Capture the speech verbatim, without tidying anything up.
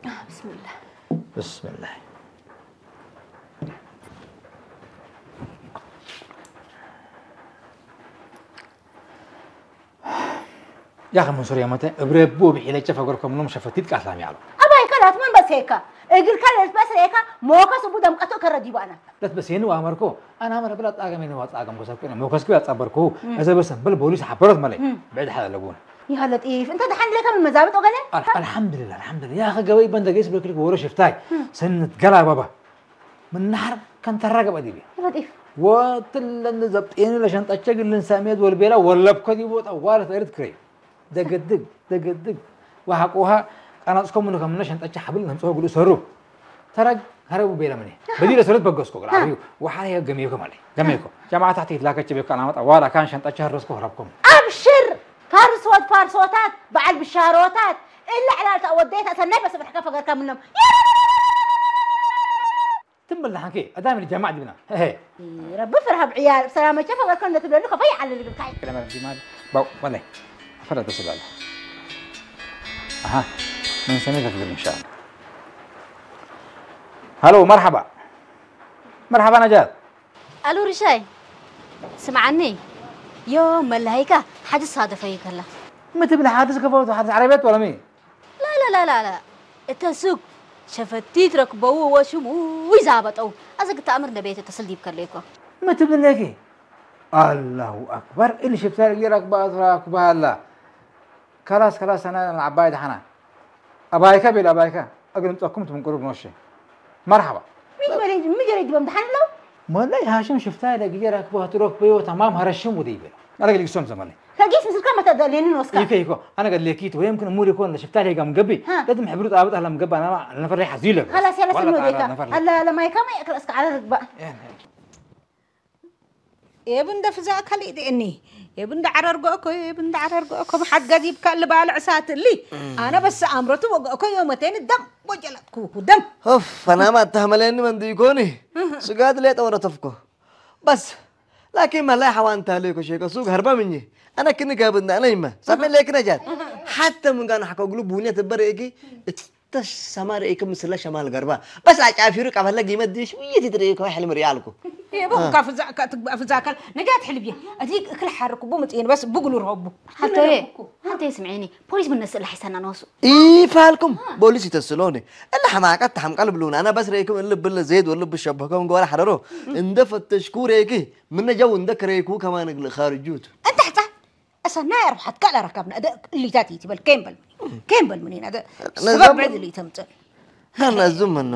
ብስምላህ። ብስምላህ። ያኸ መንሱር የመተ እብ ረቡ እብ ሒለቼ ፈገርኮ ምኖም ሸፈቲት ቃስላም ያሉ። አባይ ከላት መን በሴካ? እግልካ ለልትበስሬካ ሞከስ እቡ ደምቀቱ ከረ ዲቡ አነ። ለትበሴኒ ወአመርኮ አነ አመረ ብላ ጣገሜኒ ወጣገም ጎሰኩነ ሞከስኩ ያጸበርኩ። እም። እዘ በሰን በል ቦሊስ ሐበሮት መለይ። እም። ብዕድ ሐለ ለቡነ። ያ ለጢፍ እንተ ደሐን ለከ ምን መዛብጥ ወገለ? አል-፣ አልሐምዱሊላህ፣ አልሐምዱሊላህ። ያኸ ገበይ በንተ ገይስ ብለክልክ ወሮ ሽፍታይ። እም። ሰነት ገላ ባባ። ምን ነሐር ከንተራ ገብአ ዲቤ። ለጢፍ። ወትለኒ ዘብጤኒ ለሸንጠቼ እግል ልንሳሜት ወልቤላ ወለብኮ ዲቦ ጠዋለት እርት ክረዩ። ደገድግ፣ ደገድግ። ወሐቆሃ ቀናጽኮ ምኑ ከምነ ሸንጠቼ ሐብል ነምጽኦ እግሉ ሰሩ። ተረግ ሀረቡ ቤለ ምኔ። በዲ ለሰሩት በገስኮ እግል አብዩ። ወሐለ ገሜኮ ማለ። ገሜኮ። ጀማዐት ተሕት ይትላከች ቤኮ አናመጣ ዋላ ካን ሸንጠቼ ሀረስኮ ሀረብኮ። አብሽር! ፋርሶት ፋርሶታት፣ በዐል ብሻሮታት፣ እለ ዕላል ተአወደየት አሰናይ በስብርሕከ ፈገርከ ምኖም። ትም በል ደሐንኬ፣ አዳም ልጀማዕ ዲብና። ሄሄ። ረቢ ፍርሀ ብዕያል፣ ሰላመቼ ፈገርከ እንደ ትብለሉ ከፈይ ዐለ ልግብካይ። ለመ ረቢ ማል፣ ባው፣ ወላይ፣ አፈረት በስላለ። አሃ፣ ምን ሰኔ ተፍግር ኢንሻአላህ። ሀሎ፣ መርሐባ። መርሐባ ነጃት። አሉ ርሻይ፣ ስምዓኒ፣ ዮም መለሀይከ ሓድስ ሳደፈዩ ከላ። ምን ትብል ሓድስ ከፈቱ? ሓድስ ዐረብየት ወለሚ? ላላ ላላ ላ፣ እተ ሱቅ ሸፈቲት ረክበው ወሽሙይ ዛበጠው። አዘ ግተአምር እንደ ቤት ተስል ዲብ ከሌኮ። ምን ትብል ለኪ? አላሁ አክበር፣ እሊ ሽፍታ ለጊ ረክባ አትራክባ አላ። ከላስ፣ ከላስ፣ አነ አባይ ደሐና። አባይከ ቤል አባይከ፣ እግል እምጸኩም ትምንቅሩ ብኖሼ። መርሐባ። ምን በሌ፣ ምን ጀሬ ዲበም ደሐን ለው? ሞላይ ሃሽም ሽፍታ ለጊዜ ራክቦ አትሮክ በዮ ተማም ሀረሽም ውደይ ቤል። አነ ገል ግሶም ዘመለይ። ከጊስ ምስልካ መተደሌንን ወስካ። ይከ ይኮ፣ አነ ገል ሌኪት ወይም ክን ሙድ ይኮን ለሽፍታ ሌጋም ገቢ። ሃ። ለድም ሕብሩ ጣብጥ አለም ገባ፣ አና ነፈር ላይ ሐዚ ይለቅ። ከላስ ያለ ወላ ስኖ ጣራ ዴካ። ነፈር ላይ። አላ ለማይካ ማይ አክል እስከ ዐለ ርግባ። ኤ፣ ኤ። ኤብ እንደ ፍዛከ ሊዴኒ፣ ኤብ እንደ ዐረር ጎእኮ፣ ኤብ እንደ ዐረር ጎእኮ፣ መሓት ገዚብከ እሊ ባልዕ ሳት እሊ። እም። አነ በስ አምረቱ ወጎእኮ ዮመቴን ደም ወጀለጥኩኩ ደም። ኡፍ፣ ፈናም አተህመሌኒ መንዲ ኢኮኒ። እህ። ስጋድ ሌጠ ወረተፍኮ። በስ፣ ላኪን መላይ ሐዋን ታሌኮ ሼከ ሱግ ሀርበ ምኝ። አነ ክኒ ጋብና አነ ይመ። ሰሜ ሌክ ነጃት። እህ። ሐተ ምን ጋር ሐኮ ግሉ ቡንየት በሬኪ እት ተሽ ሰማር ኢክም ምስለ ሸማል ገርባ። በስ አጫፊሩ ቀበለ ጊመት ዲሽ ውይት ይትርኢኮ ሕልም ሪያልኩ። ኤቦ አ። ከፍዛከ ትግባ ፍዛከል ነጃት ሕልብዬ። አዲግ እክል ሐርኩቡ ምጽኤን በስ ብጉሉ ረቡ። ሐልቶዬ፣ ሐልቶዬ ስምዒኒ። ፖሊስ ምን ነስእ ለሐይሰና ነወሱ። ኢፋልኩም አ። ቦሊስ ይተስሎኒ። እለ ሐማቀት ተሐምቀል ብሉን። አና በስ ሬኩም እልብ እለ ዘይድ ወልብ ሸበከም ገዋላ ሐረሮ። እንደ ፈተሽኩ ሬኪ ምነ ጀው እንደ ከሬኩ ከማን እግል ኻርጁት። እንተ ሕጻ አሰናይ አርባሐት ጋል አረከብነ። አደ እሊታት ኢትበል፣ ኬን በል ምኔን፣ ኬን በል ምኔን፣ አደ ነዘም ሰበብ ብዕድ እሊ ተምጽእ። ነዙም ምኑ